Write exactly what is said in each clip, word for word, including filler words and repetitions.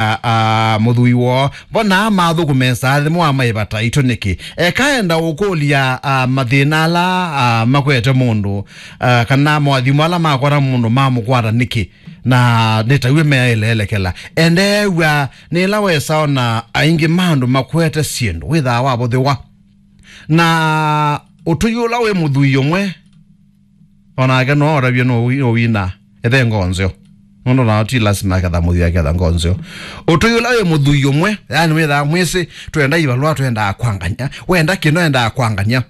a, a, mũthũi woo. Mbona mathũkũmesa athĩmwa maĩvata itũ nĩkĩ? Ekaenda ũkũlya, a, mathĩna ala, a, makwete mũndũ, a, kana moathimo ala makwata mũndũ mamũkwata nĩkĩ? Na nĩtaw'e meaĩleelekela. Endeew'a nĩ ĩla wesaona aingĩ ma andũ makwete syĩndũ, wĩthaa wavũthĩwa. Na ũtũi ũla wĩ mũthũi ũmwe, onake no ũtavye no wi-, no wina ethe ngoo nzeo. Nũndũ nao ti lasima aketha mũthũi aketha ngoo nzeo. Ũtũi ũla wĩ mũthũi ũmwe, yani wĩthaa mwĩsĩ, twenda ivalũa, twendaa kwangany'a. Wenda kĩno endaa kwangany'a.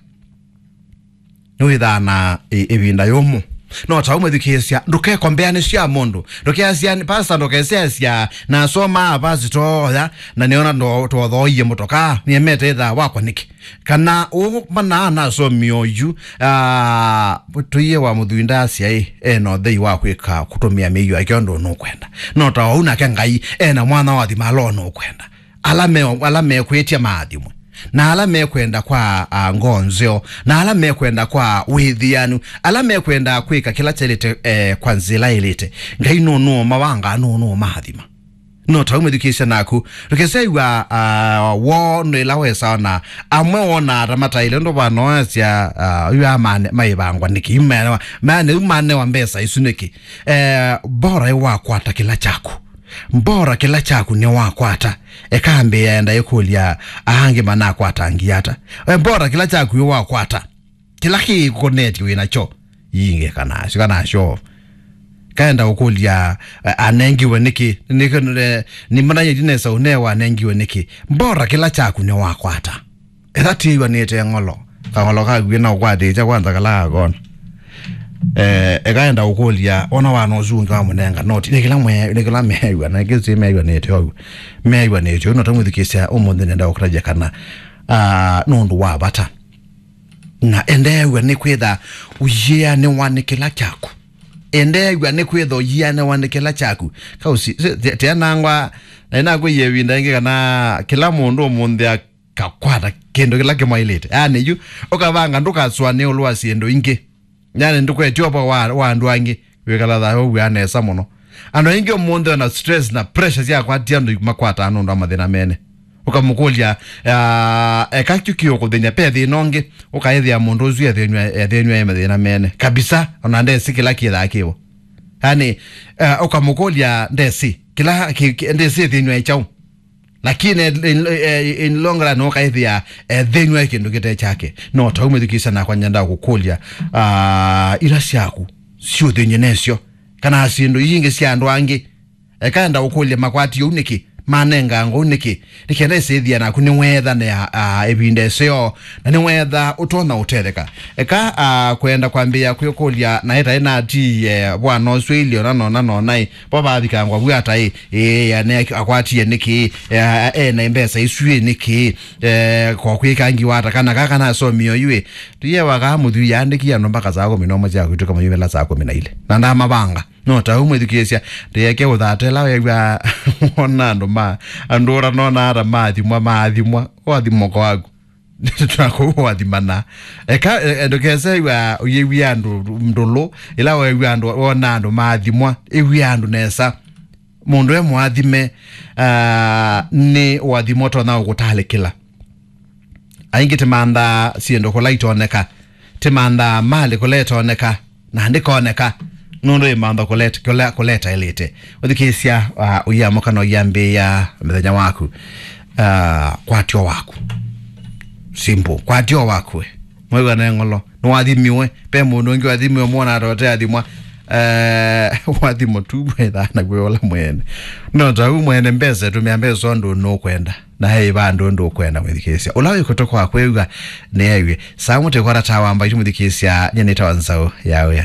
Nĩwĩthaa na ĩ-, ĩvinda yũmũ. No ta ũmwĩthukĩĩsya, ndũkekombeanĩsya mũndũ. Ndũkeasya, "Pastor, ndũkeseasya, nasoma pastor oya, na nĩona ndo-, twothooie mũtokaa, nĩemete ĩthaa wakwa nĩkĩ?" Kana ũũ mana nasomie oyu, ah, tũiye wa mũthũi ndasya ĩ, ena ũthei wa kwĩka kũtũmĩa mĩio yake ũndũ nũkwenda. No ta ũu nake Ngai, ena mwana wa thima ala ũnũkwenda. Ala me, ala mekwĩtya maathimwe, na ala mekwenda kwa, ah, ngoo nzeo, na ala mekwenda kwa wĩthĩanu, ala mekwenda kwĩka kĩla kyaĩlĩte, eh, kwa nzĩla ĩlĩte. Ngai nũnũũmawangaa, nũnũũmaathima. No ta ũmwĩthukĩĩsya naku, ndũkesew'a, ah, woo nĩ ĩla wesaona amwe wonaa ta mataĩle ũndũ vanoasya, ah, yu amane maĩvangwa nĩkĩ? Yu manewa, mane, yu manewa mbesa isu nĩkĩ? Eh, bora ĩ wakwata kĩla kyaku. Mbora kĩla kyaku nĩwakwata. Eka ambĩĩa enda ĩkũlya, "Aa angĩ manakwatangie ata?" E, mbora kĩla kyaku nĩwakwata. Kĩla kĩkonetye wĩ nakyo. Yingĩ kanasyo, kanasyo. Kaenda ũkũlya, eh, anengiwe nĩkĩ? Nĩkĩ, eh, nĩmananyĩti nesa ũnewa anengiwe nĩkĩ? Mbora kĩla kyaku nĩwakwata. Etha tiĩw'anĩte ng'olo, kang'olo kaku na ũkwatĩĩkya kwanza kala kakona. Eh, ekaenda ũkũlya, ona wana ũsu ũngĩ wamũnenga noti, nĩ kĩla mwe-, nĩ kĩla meew'a, na kĩsĩ meew'anĩte ũu. Meew'anĩte ũu, no tamwĩthukĩĩsya ũmũnthĩ nenda ũkũtavya kana, ah, nũndũ wa vata. Na endeew'a nĩ kwĩtha ũyĩanĩwa nĩ kĩla kyaku. Endeew'a nĩ kwĩtha ũyĩanĩwa nĩ kĩla kyaku. Kausi, si, ti-, tianangwa, na inakwĩie ĩvinda ĩngĩ kana kĩla mũndũ ũmũnthĩ kakwata kĩndũ kĩla kĩmwaĩlĩte. Yani, yu, ũkavanga ndũkasũanĩe ĩũlũ wa syĩndũ ingĩ. Yani, ndũkwetya ũvoo wa, wa andũ angĩ, wĩkala thayũ wĩa nesa mũno. Andũ aingĩ ũmũnthĩ ona stress na pressure syakwatia andũ makwataa nũndũ wa mathĩna mene. Ũkamũkũlya, "Ah, eka kyu kĩũkũthĩny'a, pe thĩna ũngĩ?" Ũkaĩthĩa mũndũ ũsu ethĩnw'a, ethĩnw'a e mathĩna mene. Kabisa, ona ndesĩ kĩla kĩthaa kĩvo. Yani, eh, ũkamũkũlya, "Ndesĩ, kĩla, kĩ, kĩ, ndesĩ ethĩnw'a e kyaũ?" Lakini in, in, in long run ũkaĩthĩa, eh, thĩnw'a ĩ kĩndũ kĩte kyake. No ta ũmwĩthukĩĩsya nakwa nyenda kũkũlya, ah, ila syaku syũthĩny'e nesyo, kana syĩndũ ingĩ sya andũ angĩ. Eka enda ũkũlya makwati ũu nĩkĩ? Manenga ngou nĩkĩ? Nĩkenda ĩsĩthia naku nĩweethanĩa, ah, ĩvinda ĩseo, na nĩweetha ũtonya ũtetheka. Eka, ah, kwenda kwambĩĩa kwĩkũlya na ĩtaĩ natiie vwana ũsu ĩilyo na nona nona ĩ, vo vavikangwa vu ata ĩ, ĩ, ane akwatie nĩkĩ? Eh, ena mbesa isu ĩ nĩkĩ? Eh, kwa kwĩka ngiwa ata kana kaka nasomie oyu ĩ? Tuye wakaa mũthwi yaandĩkie andũ mpaka saa kũmi na ũmwe sya kwĩtũka mayumĩla saa kũmi na ilĩ. Na ndamavanga. No ta ũu mwĩthukĩĩsya, ndĩeke ũthata ĩla weew'a wona andũ ma, andũ ũra nona ata maathimwa, maathimwa, ũathimoka waku. Twakũu ũathimana. Eka, e, e, ndũkesew'a ũyĩw'ĩa andũ ndũlũ, ĩla weew'a andũ, wona andũ maathimwa, ĩw'ĩa andũ nesa. Mũndũ e mũathime, ah, nĩ ũathimo ũtonya ũkũtalĩkĩla. Aingĩ tĩmanthaa syĩndũ kũla itoneka, tĩmanthaa malĩ kũla ĩtoneka, na ndĩkoneka, nũndũ ĩmantha kũleta, kũla, kũleta ĩlĩte. Ũthikĩĩsya, ah, ũyĩamũka na ũyambĩĩa mũthenya waku, ah, kwatyo waku. Simple. Kwatyo waku we. Mwĩw'a ne ng'olo. Nĩwathimiwe. Pe mũndũ ũngĩ wathimiwe, mwona atote athimwa. Eh, wathimo tu mwĩthaa nakw'o ũla mwene. No ta u mwene mbesa, tũmĩa mbesa ũndũ nũkwenda. Na he vandũ ndũkwenda mwĩthikĩĩsya. Ũla wĩ kũtũ kwa kwĩw'a, nĩew'e. Saa mũtĩ kwa tata wamba itũ mwĩthikĩĩsya, nye nĩtawa Nzaũ ya Wĩa.